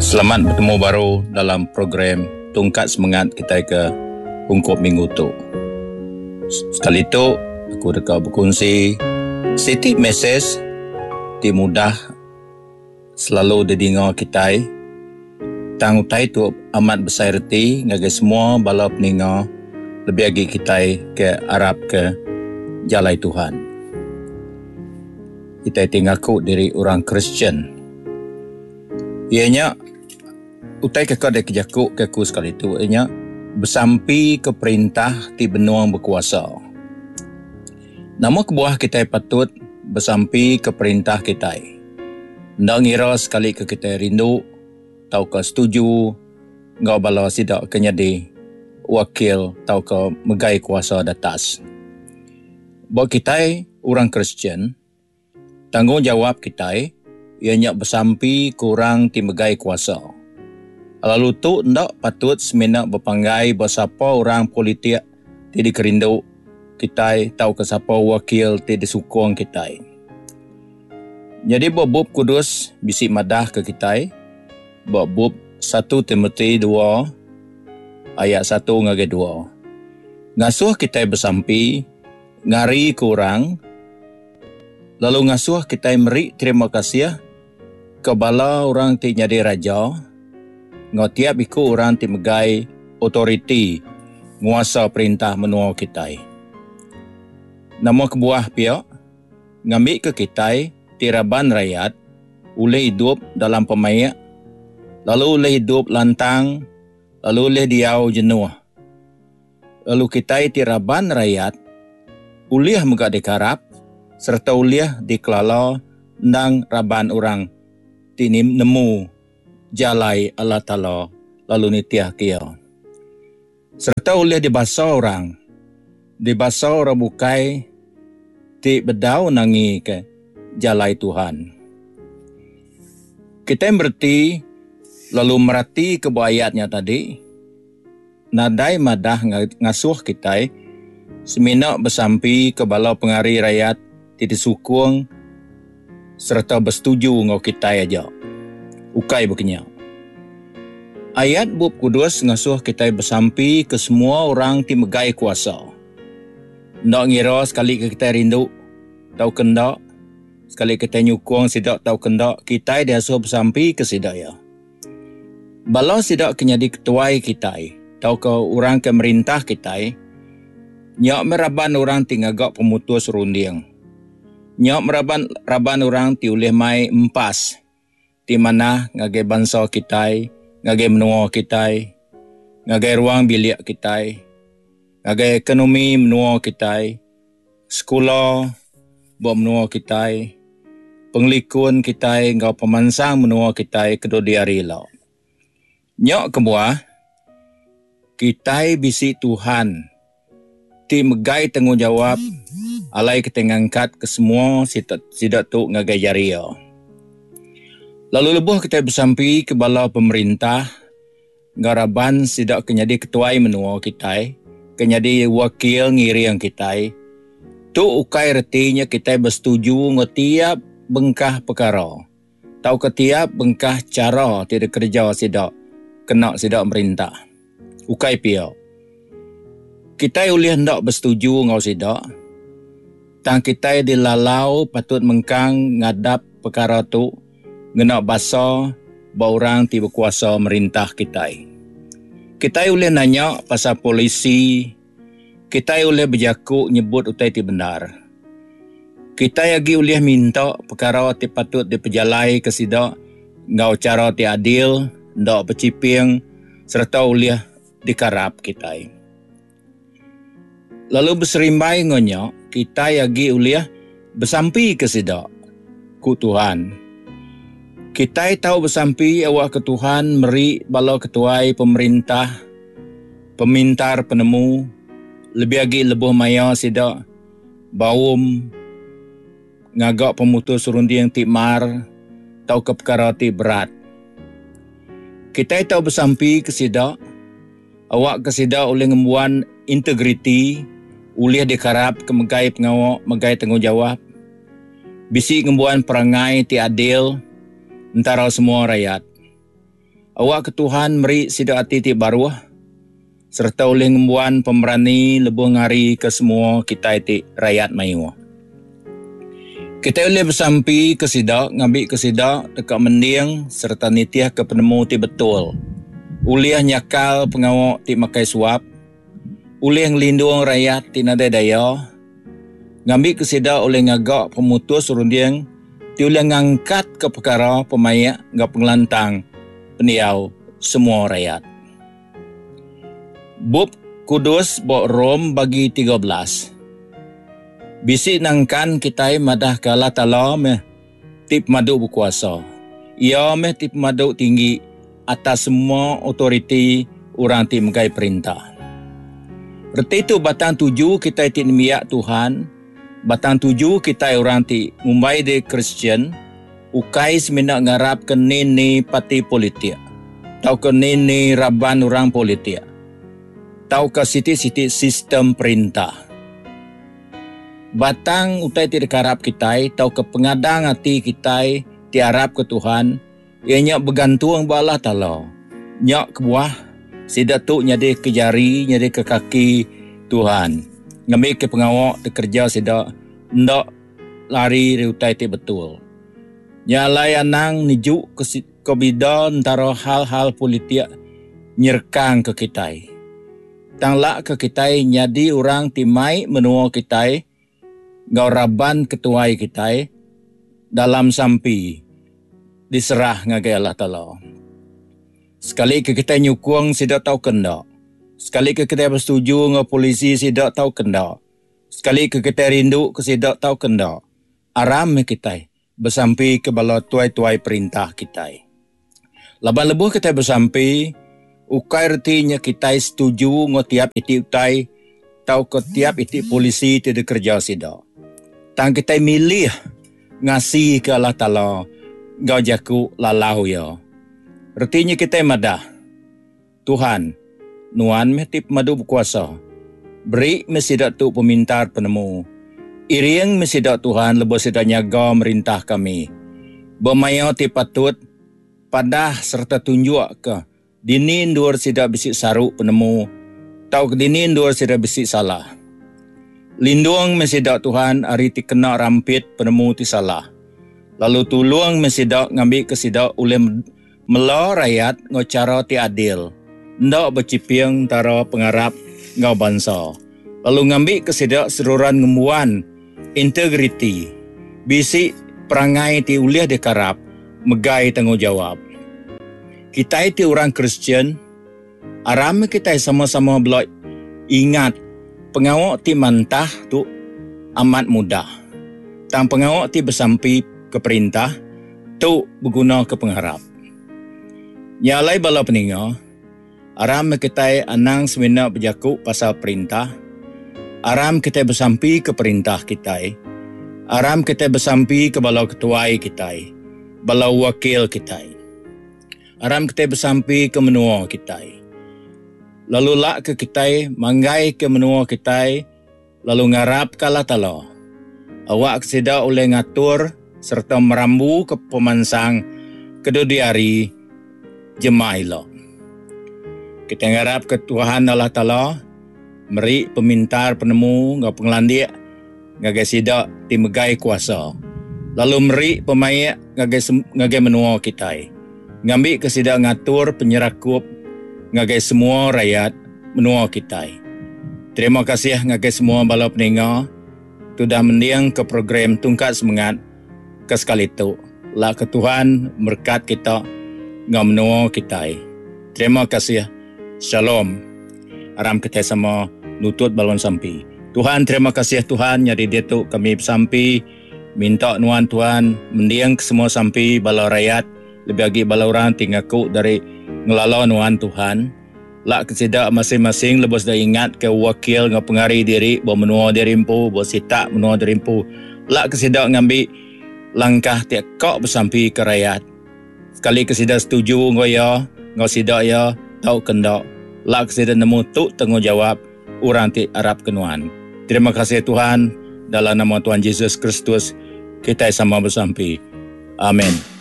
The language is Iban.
Selamat betemu baru dalam program Tungkat Semengat kitai ke ungkup minggu tu. Sekali tu aku deka bekunsi siti mesej ti mudah selalu didinga kitai tang utai tu amat besai reti ngagai semua bala peninga lebih agi kitai ke arap ke jalai Tuhan. Kitai ti ngaku diri orang Kristian. Iya nya utai ke ka dikejaku ke aku sekali tu iya nya besampi ke perintah ti benung bekuasa. Nama kebuah kitai patut besampi ke perintah kitai? Enda ngira sekali ke kitai rindu tauka setuju enggau bala sida ke nyadi wakil tauka megai kuasa datas. Ba kitai orang Kristian, tanggungjawap kitai iya nya besampi ke orang ti megai kuasa. Lalu tu enda patut semina bepanggai ba sapa orang politik ti dikerindu kitai tauka sapa wakil ti disukung kitai. Nyadi ba Bup Kudus bisi madahka kitai ba bup satu Timoti dua ayat satu ngagai dua ngasuh kitai besampi ngarika orang lalu ngasuh kitai meri terima kasih ke bala orang ti nyadi raja enggau tiap iku orang ti megai otoriti nguasa perintah menua kitai. Nama kebuah pia? Ngambika kitai ti raban rayat ulih idup dalam pemaik lalu ulih idup lantang lalu ulih diau jenuh. Lalu kitai ti raban rayat ulih mega dikarap sereta ulih dikelala endang raban orang ti nemu jalai Allah Taala lalu nitihka Iya. Sereta ulih dibasa orang, dibasa orang bukai ti bedau nangika jalai Tuhan. Kitai mereti lalu meratika ba ayat nya tadi. Nadai madah ngasuh kitai semina besampi ke bala pengari rayat ti disukung sereta besetuju enggau kitai aja. Ukai baka nya. Ayat Bup Kudus ngasuh kitai besampi ke semua orang ti megai kuasa. Enda ngira sekali ke kitai rindu tauka enda, sekali kitai nyukung sida tauka enda, kitai diasuh besampi ke sida iya. Bala sida ke nyadi ketuai kitai tauka orang ke merintah kitai nya meh raban orang ti ngaga pemutus runding. Nya meh raban raban orang ti ulih mai empas ti manah ngagai bansa kitai, ngagai menua kitai, ngagai ruang bilik kitai, ngagai ekonomi menua kitai. Sekula ba menua kitai, pengelikun kitai enggau pemansang menua kitai ke dudi hari ila. Nya kebuah, kitai bisi Tuhan ti megai tanggungjawap alai kitai ngangkatka semua sida tu ngagai jari Iya. Lalu lebuh kitai besampi ke bala pemerintah enggau raban sida ke nyadi ketuai menua kitai, ke nyadi wakil ngiring kitai, tu ukai reti nya kitai besetuju enggau tiap bengkah pekara tauka tiap bengkah chara ti dikereja sida kena sida merintah. Ukai pia. Kitai ulih enda besetuju enggau sida, tang kitai dilalau patut mengkang ngadap pekara tu ngena basa ba orang ti bekuasa merintah kitai. Kitai ulih nanya pasal polisi, kitai ulih bejaku nyebut utai ti bendar. Kitai agi ulih minta pekara ti patut dipejalaika sida enggau chara ti adil, enda bechiping sereta ulih dikarap kitai. Lalu beserimbai enggau nya, kitai agi ulih besampika sida, ku Tuhan. Kitai tau besampi awakka Tuhan meri bala ketuai pemerintah pemintar penemu lebih agi lebuh maya sida baum ngaga pemutus runding ti mar tauka pekara ti berat. Kitai tau besampi ke sida. Awakka sida ulih ngembuan integriti, ulih dikarapka megai pengawa megai tanggungjawap, bisi ngembuan perangai ti adil entara semua rayat. Awakka Tuhan meri sida ati ti baruh sereta ulih ngembuan pemerani lebuh ngarika semua kitai ti rayat mayuh. Kitai ulih besampi ke sida ngambika sida deka mending sereta nitihka penemu ti betul, ulih nyakal pengawa ti makai suap, ulih ngelindung rayat ti nadai daya, ngambika sida ulih ngaga pemutus runding ti ulih ngangkatka pekara pemaik enggau pengelantang pendiau semua rayat. Bup Kudus ba Rome bagi 13 bisi nangkan kitai madahka Allah Taala meh ti pemadu bekuasa. Iya meh ti pemadu tinggi atas semua autoriti orang ti megai perintah. Reti tu batang tuju kitai ti nembiak Tuhan, batang tuju kitai orang ti ngumbai diri Kristian, ukai semina ngarapka ni-ni parti politik tauka ni-ni raban orang politik tauka siti-siti sistem perintah. Batang utai ti dikarap kitai tauka pengadang ati kitai ti arapka Tuhan iya nya begantung ba Allah Taala. Nya kebuah sida tu nyadika jari nyadika kaki Tuhan ngambika pengawa ti kereja sida enda lari ari utai ti betul. Nya alai anang nejuka bida entara hal-hal politik nyerekangka kitai. Tang lak ke kitai nyadi orang ti mai menua kitai enggau raban ketuai kitai dalam sampi diserah ngagai Allah Taala. Sekali ke kitai nyukung sida tauka enda, sekali ke kitai besetuju enggau polisi sida tauka enda, sekali ke kitai rindu ke sida tauka enda, aram meh kitai besampi ke bala tuai-tuai perintah kitai. Laban lebuh kitai besampi, ukai reti nya kitai setuju enggau tiap iti utai tauka tiap iti polisi ti dikereja sida. Tang kitai milih ngasika Allah Taala enggau jaku lalau Iya. Reti nya kitai madah, Tuhan, Nuan meh ti pemadu bekuasa. Beri meh sida tu pemintar penemu. Iring meh sida Tuhan lebuh sida nyaga merintah kami. Ba maya ti patut, padah sereta tunjukka dini endur sida bisi saru penemu tauka dini endur sida bisi salah. Lindung meh sida Tuhan ari ti kena rampit penemu ti salah, lalu tulung meh sida ngambika sida ulih Mela rayat enggau chara ti adil, enda bechiping entara pengarap enggau bansa, lalu ngambika sida seruran ngembuan integriti, bisi perangai ti ulih dikarap megai tanggungjawap. Kitai ti orang Kristian, aram meh kitai sama-sama bela ingat pengawa ti mantah tu amat mudah, tang pengawa ti besampi ke perintah Tu begunaka pengarap. Nya alai bala peninga, aram meh kitai anang semina bejaku pasal perintah, aram kitai besampi ke perintah kitai, aram kitai besampi ke bala ketuai kitai, bala wakil kitai. Aram kitai besampi ke menua kitai. Lalu lak ke kitai manggai ke menua kitai lalu ngarapka Allah Taala awakka sida ulih ngatur sereta merambuka pemansang ke dudi hari jemah ila. Kitai ngarapka Tuhan Allah Taala meri pemintar penemu enggau pengelandik ngagai sida ti megai kuasa lalu meri pemaik ngagai ngagai menua kitai ngambika sida ngatur penyerakup ngagai semua rayat menua kitai. Terima kasih ngagai semua bala peninga ti udah mendingka program Tungkat Semengat ke sekali tu. Lak ke Tuhan merekat kita enggau menua kitai. Terima kasih. Shalom. Aram kitai sama nutut balon sampi. Tuhan terima kasih Tuhan nyadi diatu kami besampi minta nuan Tuhan mending ke semua sampi bala rayat lebih agi bala orang ti ngaku dari ngelala nuan Tuhan. Lak ke sida masing-masing lebuh sida ingat ke wakil enggau pengari diri ba menua diri empu, ba sitak menua diri empu. Lak ke sida ngambi langkah ti ka besampi ke rayat. Sekali ke sida setuju enggau iya, enggau sida iya, tauka enda. Lak ke sida nemu tu tanggungjawap orang ti arap ke nuan. Terima kasih Tuhan, dalam nama Tuhan Jesus Kristus kitai sama besampi. Amen.